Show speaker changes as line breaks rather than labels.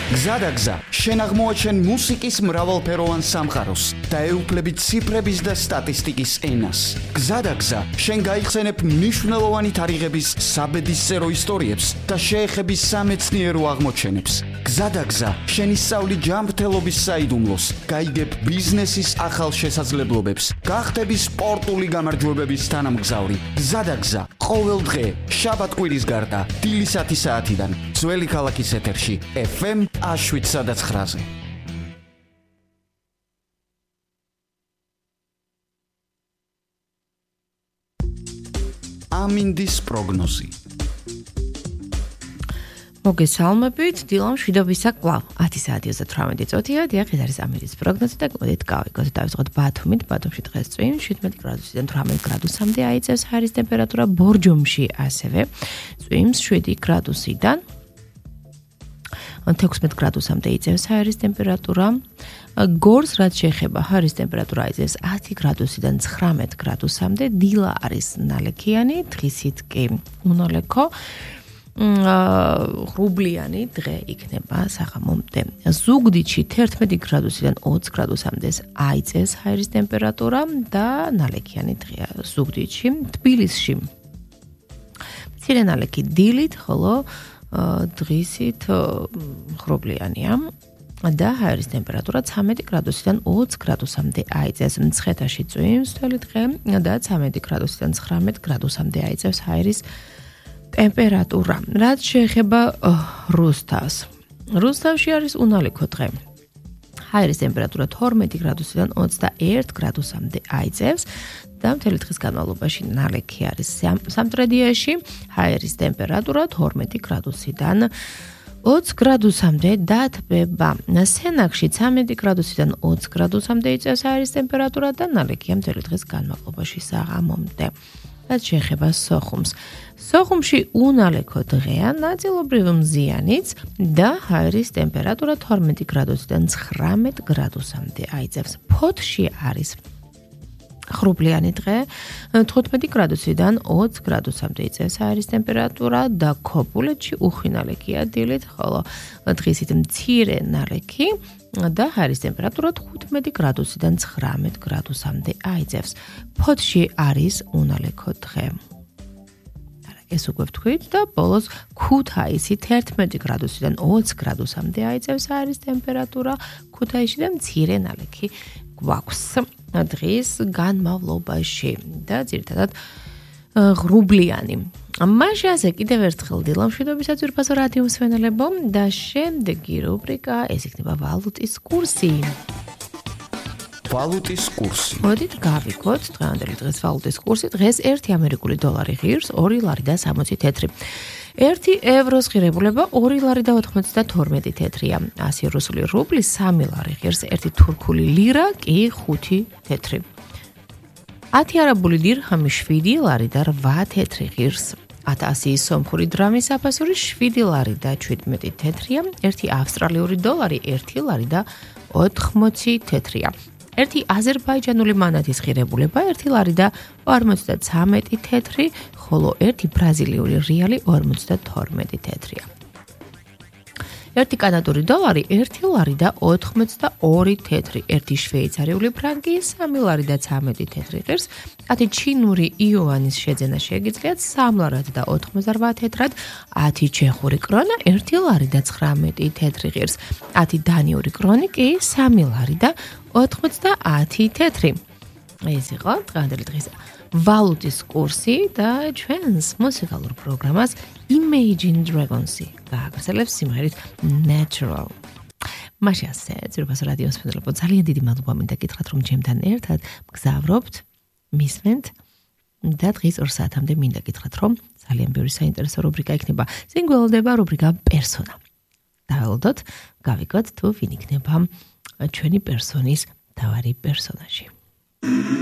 გზადაგზა, შენ აღმოაჩენ მუსიკის მრავალფეროვან სამყაროს და ეუფლები ციფრების და სტატისტიკის ენას. გზადაგზა, შენ გაიხსენებ მნიშვნელოვანი თარიღების საბედისწერო ისტორიებს და შეეხები სამეცნიერო აღმოჩენებს. გზადაგზა, შენ ისწავლი ჯანმრთელობის საიდუმლოს, გაიგებ ბიზნესის ახალ შესაძლებლობებს, გახდები სპორტული გამარჯვებების თანამგზავრი. გზადაგზა, ყოველ დღე, შაბათ-კვირის გარდა, დილის 10 საათიდან, ძველი ქალაქის ეთერში, FM 7-9-ზე. ამინდის პროგნოზი.
მოგესალმებით, დილამ შვიდობისა კვლავ 10 საათი 38 წუთია, დიახ, ეს არის ამინდის პროგნოზი და მოდით გავიგოთ. დავიწყოთ ბათუმით, ბათუმში დღეს წვიმ 17 გრადუსიდან 18 გრადუსამდე აიწევს ჰაერის ტემპერატურა, ბორჯომში ასევე წვიმს 7 გრადუსიდან 16 გრადუსამდე იწევს ჰაერის ტემპერატურა. გორს რაც შეეხება ჰაერის ტემპერატურა იწევს 10 გრადუსიდან 19 გრადუსამდე, დილა არის ნალექიანი, დღისით კი უნალექო. ღრუბლიანი დღე იქნება საღამომდე. ზუგდიდში 11 გრადუსიდან 20 გრადუსამდე აიწევს ჰაერის ტემპერატურა და ნალექიანი დღეა ზუგდიდში. თბილისში მცირე ნალექი დილით, ხოლო დღისით ღრუბლიანია და ჰაერის ტემპერატურა 13 გრადუსიდან 20 გრადუსამდე აიწევს. მცხეთაში წვიმს თველი დღე და 13 გრადუსიდან 19 გრადუსამდე აიწევს ჰაერის ტემპერატურა. რაც შეეხება რუსთავს. რუსთავში არის უნალექო დღე. ჰაერის ტემპერატურა 12 გრადუსიდან 21 გრადუსამდე აიწევს და მთელი დღის განმავლობაში ნალექი არის. სამტრედიაში ჰაერის ტემპერატურა 12 გრადუსიდან 20 გრადუსამდე დათბება. სენაკში 13 გრადუსიდან 20 გრადუსამდე იწევს ჰაერის ტემპერატურა და ნალექია მთელი დღის განმავლობაში საღამომდე. რაც შეეხება სოხუმს. სოხუმში უნალექო დღეა, ნაწილობრივ მზიანიც და ჰაერის ტემპერატურა 12 გრადუსიდან 19 გრადუსამდე აიწევს. ფოთში არის ღრუბლიანი დღე, 15 გრადუსიდან 20 გრადუსამდე იწევს ჰაერის ტემპერატურა და ქობულეთში უხვი ნალექია დილით, ხოლო დღისით მცირე ნალექი და ჰაერის ტემპერატურა 15 გრადუსიდან 19 გრადუსამდე აიწევს. ფოთში არის უნალექო დღე. ეს უკვე ვთქვით და ბოლოს ქუთაისი 11 გრადუსიდან 20 გრადუსამდე აიწევს ჰაერის ტემპერატურა, ქუთაისში და მცირე ნალექი გვაქვს დღის განმავლობაში და ძირითადად ღრუბლიანი. მაშასე კიდევ ერთხელ დილამ შვიდობისა ძვირფასო რადიო მსმენელებო და შემდეგი რუბრიკა ეს იქნება ვალუტის კურსი.
ვალუტის კურსი.
მოდით გავიგოთ დღევანდელი დღეს ვალუტის კურსი. დღეს 1 ამერიკული დოლარი ღირს 2 ლარი და 60 თეთრი. 1 ევროს ღირებულება 2 ლარი და 92 თეთრია. 100 რუსული რუბლი 3 ლარი ღირს, 1 თურქული ლირა კი 5 თეთრი. 10 არაბული დირჰამი 7 ლარი და 8 თეთრი ღირს. 1000 სომხური დრამის აფასური 7 ლარი და 17 თეთრია. 1 ავსტრალიური დოლარი 1 ლარი და 80 თეთრია. 1 აზერბაიჯანული მანათის ღირებულება 1 ლარი და 53 თეთრი, ხოლო 1 ბრაზილიური რეალი 52 თეთრია. 1 კანადური დოლარი 1 ლარი და 82 თეთრი, 1 შვეიცარიული ფრანკი 3 ლარი და 13 თეთრი ღირს, 10 ჩინური იუანის შეძენა შეგიძლიათ 3 ლარად და 88 თეთრად, 10 ჩეხური კრონა 1 ლარი და 19 თეთრი ღირს, 10 დანიური კრონი კი 3 ლარი და 90 თეთრი. ეს იყო დღევანდელი დღის ვალუტის კურსი და ჩვენს მუსიკალურ პროგრამას Imagine Dragons-ი გააგრძელებს სიმღერით Natural. მაშასე ძვირფასო რადიო მსმენელებო, ძალიან დიდი მადლობა მინდა გითხრათ, რომ ჩემთან ერთად მგზავრობთ, მისმენთ და დღის 2 საათამდე მინდა გითხრათ, რომ ძალიან ბევრი საინტერესო რუბრიკა იქნება. წინ გველოდება რუბრიკა პერსონა. დაველოდოთ, გავიგოთ თუ ვინ იქნება ჩვენი პერსონის მთავარი პერსონაჟი.